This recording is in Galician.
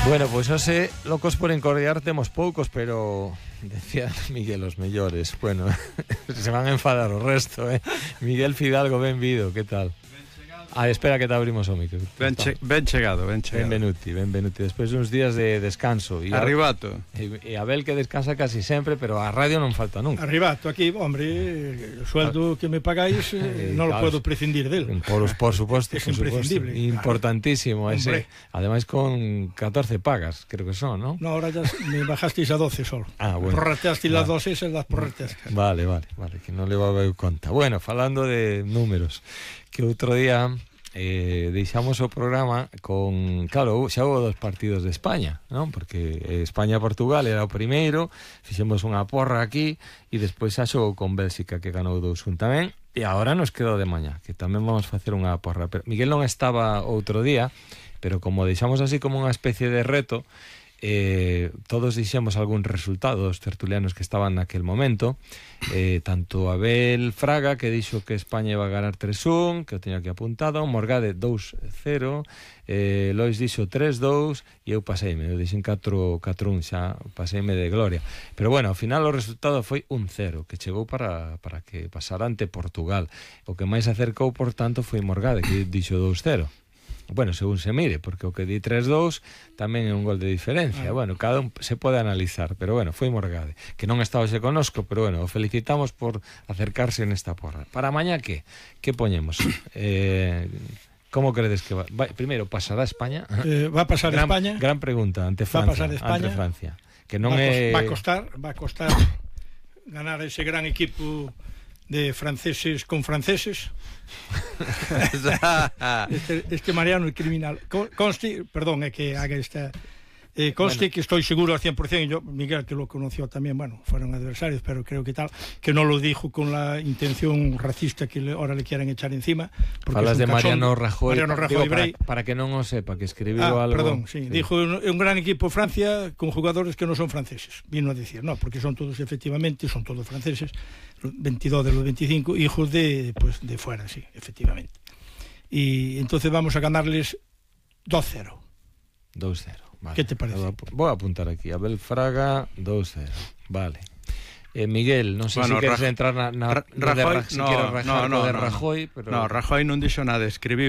Bueno, pues hoxe locos por encordiar temos poucos, pero decía Miguel os mellores. Bueno, se van a enfadar o resto, Miguel Fidalgo, benvido, que tal? Espera que te abrimos o micro. Ben chegado. Benvenuti. Despois uns días de descanso. Arribato. E Abel que descansa casi sempre, pero a radio non falta nunca. Arribato, aquí, hombre, o sueldo que me pagáis non lo puedo prescindir del. Por suposto, es imprescindible. Importantísimo ese. Ademais con 14 pagas, creo que son, ¿no? No, ahora ya me bajasteis a 12 solo. Bueno. Prorrateasteis las dos esas, las prorrateasteis. Vale, que non levaba eu conta. Bueno, falando de números, que outro día deixamos o programa con, claro, xa houve dos partidos de España, non? Porque España-Portugal era o primeiro, fixemos unha porra aquí e despois xa xogou con Bélxica, que ganou 2-1 tamén, e agora nos quedou de mañá, que tamén vamos facer unha porra. Pero Miguel non estaba outro día, pero como deixamos así como unha especie de reto, todos dixemos algún resultado dos tertulianos que estaban naquel momento, tanto Abel Fraga, que dixo que España iba a ganar 3-1, que o teña aquí apuntado, Morgade 2-0, Lois dixo 3-2 e eu paseime, eu dixen 4-1, xa paseime de gloria, pero bueno, ao final o resultado foi 1-0, que chegou para que pasara ante Portugal. O que máis acercou, por tanto, foi Morgade, que dixo 2-0. Bueno, según se mire, porque o que di 3-2 tamén é un gol de diferencia. Bueno, cada un se pode analizar, pero bueno, foi Morgade, que non está hoxe conosco, pero bueno, o felicitamos por acercarse nesta porra. Para mañá, que poñemos? Como credes que va? Primeiro, pasará España? Va a pasar España. Gran pregunta, ante Francia. Ante Francia. Que non va a costar ganar ese gran equipo de franceses con franceses. este Mariano é criminal. Conste, perdón, é que haga esta conste, bueno, que estoy seguro al 100%, yo, Miguel, que lo conoció también, bueno, fueron adversarios, pero creo que tal, que no lo dijo con la intención racista que ahora le quieren echar encima. Falas de Mariano Rajoy, para que non o sepa, que escribiu algo. Perdón, sí. Dijo, un gran equipo Francia con jugadores que no son franceses, vino a decir, no, porque son todos, efectivamente, son todos franceses, 22 de los 25, hijos de fuera, sí, efectivamente. Y entonces vamos a ganarles 2-0. 2-0. Vale. ¿Qué te parece? Voy a apuntar aquí. Abel Fraga, 2-0. Vale. Miguel, non sei se queres entrar na Rajoy, de Rajoy, pero... No, Rajoy non dixo nada, escribiu